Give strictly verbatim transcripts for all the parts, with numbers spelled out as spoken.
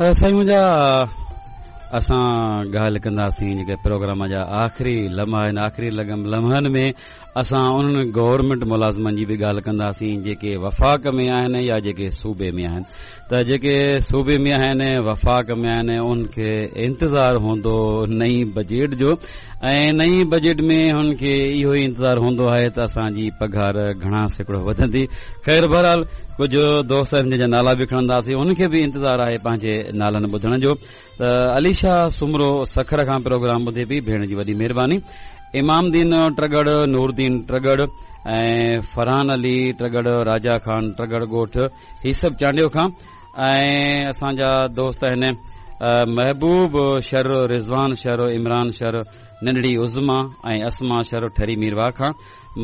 سائين منهنجا، اسان ڳالهه ڪنداسين جيڪي پروگرام جا آخري لمحا آهن، آخري لمحن ۾ اسان انهن گورنمينٽ ملازمن جي به ڳالهه ڪنداسين جيڪي وفاق ۾ آهن يا جيڪي صوبي ۾ آهن. ته جيڪي صوبي ۾ آهن، وفاق ۾ آهن، انهن کي انتظار هوندو نئين بجيٽ جو، ۽ نئين بجيٽ ۾ هن کي اهو ئي انتظار هوندو آهي ته اسان جي پگهار گهڻا سيڪڙو وڌندي. خير بهرحال ڪجهه دوست آهن جن جا نالا به کڻنداسين، انهن کي به انتظار آهي پنهنجي نالن ٻڌڻ جو. ته علي شاهه سومرو سکر کان پروگرام ٻڌي پئي، ڀيڻ جي وڏي مهرباني. امام دين ٽرڳڙ، نوردين ٽرڳڙ ۽ فرحان علي ٽرڳڙ، راجا خان ٽرڳڙ ڳوٺ هي سڀ چانڊيو کان. ۽ اسان جا دوست آهن محبوب شر، رضوان شر، عمران شر، ننڍڙي عظما ۽ اسما شر ٺري ميرواهه کان.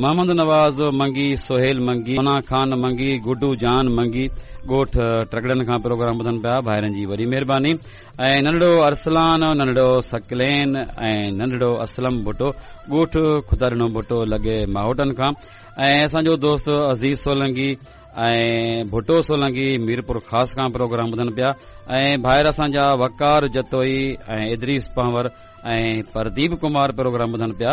محمد نواز منگي، سهيل منگي، مونا خان منگي، گڊو جان منگي ڳوٺ ٽرڳڙن کان پروگرام ٻڌن پيا، ڀائرن جي وڏي مهرباني. ۽ ننڍڙو ارسلان، ننڍڙو سڪلين ۽ ننڍڙو اسلم ڀٽو ڳوٺ خدا ڏنو ڀٽو لڳي ماهوٽن کان. ۽ اسان جو دوست عزيز سولنگي ۽ ڀٽو سولنگي ميرپور خاص کان پروگرام ٻڌن پيا. ۽ ڀائر اسان جا وقار جتوئي ۽ ادريس پنهور ۽ پرديپ ڪمار پروگرام ٻڌن پيا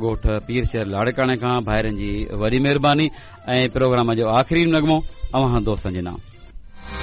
ڳوٺ پير شهر لاڙڪاڻي کان، ڀائرن جي وڏي مهرباني. ۽ پروگرام جو آخري نغمو اوهان دوستن جي نام.